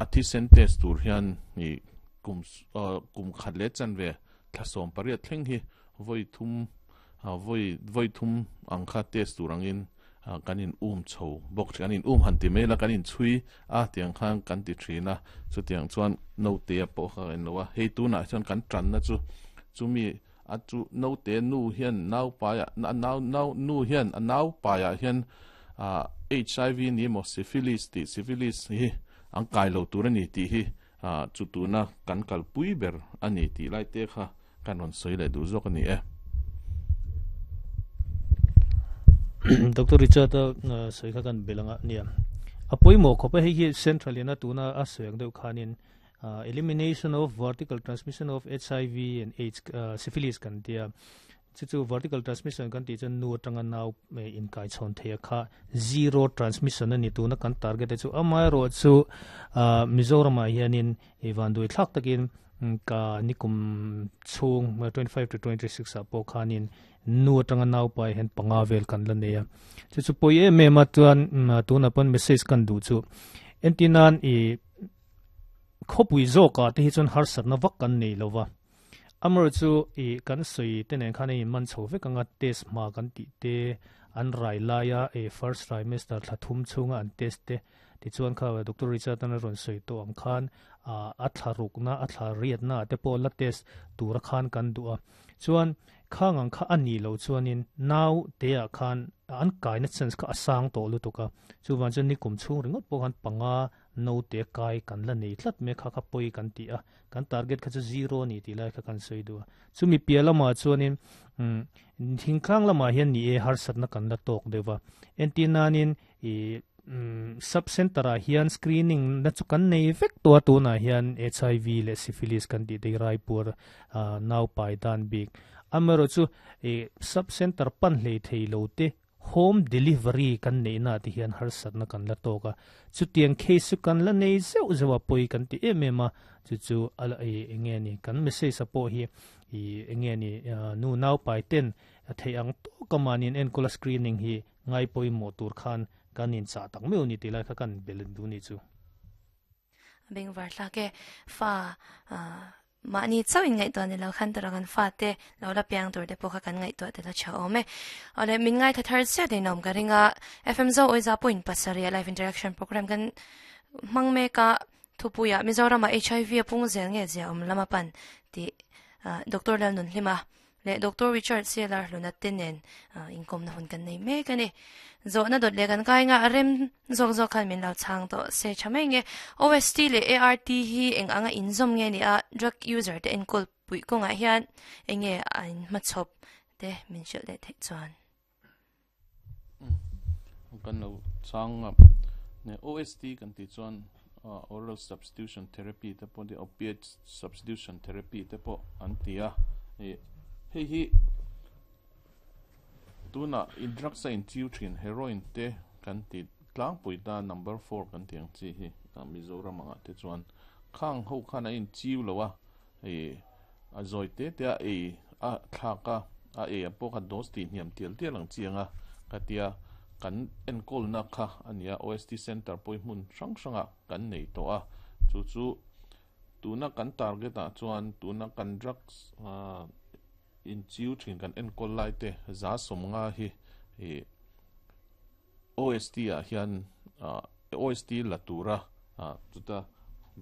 A thisen test tur hian i kum kum khat leh chanve thla 18 thleng hi vawi thum vawi vawi thum ang kha test tur angin kan in um chho bawk thin, kan in um han ti mai la, kan in chhui a tiang khan kan ti thin a, chutiang chuan naute a pawh kha kan lo a, hei tunah chuan kan tanna chu chumi a chu naute nu hian nau paiah nau nau nu hian a nau paiah hian HIV ni emaw syphilis tih syphilis hi an kai lo tur a ni tih hi chu tuna kan kalpui ber a ni tih lai te kha kan rawn sawi leh duh zawk a ni e. Doctor Richard a sawi kha kan bel anga nia. A pawimawh khawp a, hei hi central in a tuna a sawi ang deuh khanin elimination of vertical transmission of HIV and AIDS syphilis kan tia. Chu chu vertical transmission kan tih chuan nu atanga nau inkai chhawn thei a kha zero transmission a ni tuna kan target te chu. Amaherawh chu Mizoramah hianin i vanduai thlak takin ka nikum chhung 25 to 26 ah pawh khanin nu atanga nau pai hian panga vel kan la nei a. Chu chu pawi em em a chuan tunah pawn message kan duh chu entinan i khawpui zawkah te hi chuan harsatna vak kan nei lova. Amaherawh chu i kan sawi te nen khan a inman chho vek anga test hma kan tih te an rai laia i first trimester thla thum chhunga an test te tichuan kha Doctor Richard an a rawn sawi tawh ang khan a thla rukna a thla riatna ah te pawh la test tura khan kan duh a chuan khang ang kha a nih loh chuanin nau te ah khan an kaina chance kha a sang tawh lutuk a chuvang chuan nikum chhung ringawt pawh khan panga naute kai kan la nei tlat mai kha kha pawi kan ti a kan target kha chu zero a ni tih lai kha kan sawi duh a chumi piah lamah chuanin umm thingtlang lamah hian ni e harsatna kan la tawk deuh va entir nanin ih umm sub center ah hian screening na chu kan nei vek tawh a tunah hian HIV leh syphilis kan tih te hi raipuar ah nau pai dan bik amaherawh chu ih sub center pan hlei thei lo te Home delivery kan neihna ah te hian harsatna kan la tawk a, chutiang case chu kan la nei zeuh zeuh a, pawi kan ti em em a, chu chu a la ih eng nge ni kan message a pawh hi ih eng nge ni nu nau pai ten a theih ang tawk a mahni an enkawl a screening hi ngai pawimawh tur khan kan inchah tak meuh a ni tih lai kha kan bel duh ni chu. Bengvar thlak e, fa mahni chauh in ngaihtuah ni lo khan tura kan fa te lo la piang tur te pawh kha kan ngaihtuah tel a tha awm e. Awle min ngaithla thar chiah in awm ka ring a, FM Zo Awiza point pasarih live interaction program kan hmang mek a, thupuiah Mizoramah HIV a pung zel nge zia awm lama pan tih Doctor Lalnunhlima leh Doctor Richard Sealer hluna te nen inkawmna hun kan nei mek a ni. Zawhna dawt leh kan kai nga a rem zawk zawk khan min lo chhang tawh se tha mai nge. OST leh ART hi eng anga inzawm nge ni a, drug user te enkawl puih kawngah hian eng nge a inhmachhawp te min hrilh leh theih chuan. Kan lo chhang a, OST kan tih chuan oral substitution therapy te pawh opiate substitution therapy te pawh an ti a, hei hi tuna in drugs a inchiu thin heroin te kan ti tlangpui ta number 4 kan tih ang chi hi Mizoram angah te chuan khang ho khan a inchiu lo a, a zawi te te a ei a thlak a a ei a pawh kha dose tih hniam tial tial ang chi anga ka tia kan enkawlna kha a nia OST center pawh hi hmun hrang hrangah kan nei tawh a chu chu tuna kan target ah chuan tuna kan drugs inchiu thin kan enkawl lai te 150 hi ih OST ah hian OST la tura chuta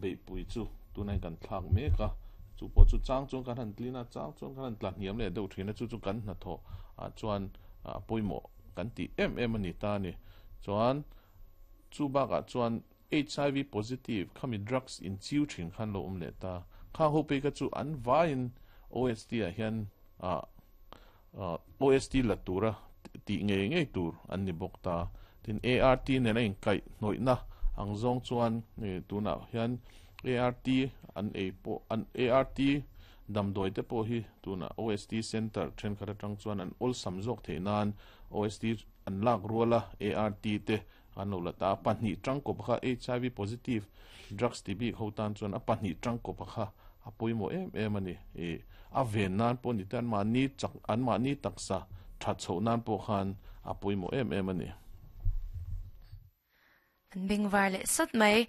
beihpui chu tunah hian kan thlak mek a, chu pawh chu chang chuan kan han tlin a, chang chuan kan han tla hniam leh deuh thin a, chu chu kan hnathawh ah chuan a pawimawh kan tih em em a ni ta a ni. Chuan chu bakah chuan HIV positive khami drugs inchiu thin khan lo awm leh ta, khang ho phei kha chu an vaiin OST ah hian OST la tura tih ngei ngei tur an ni bawk ta. Tin, ART nen a inkaih hnawihna ang zawng chuan tunah hian ART an ei pawh an ART damdawi te pawh hi tunah OST Centre thenkhat atang chuan an awlsam zawk theih nan OST an lak ruala ART te an lo la ta. A pahnih tangkawp kha HIV positive drugs ti bik ho tan chuan a pahnih tangkawp kha a pawimawh em em a ni. Ih, a ven nan pawh ni te, anmahni chak, anmahni taksa that chhoh nan pawh khan a pawimawh em em a ni. An bengvar leh sawt mai.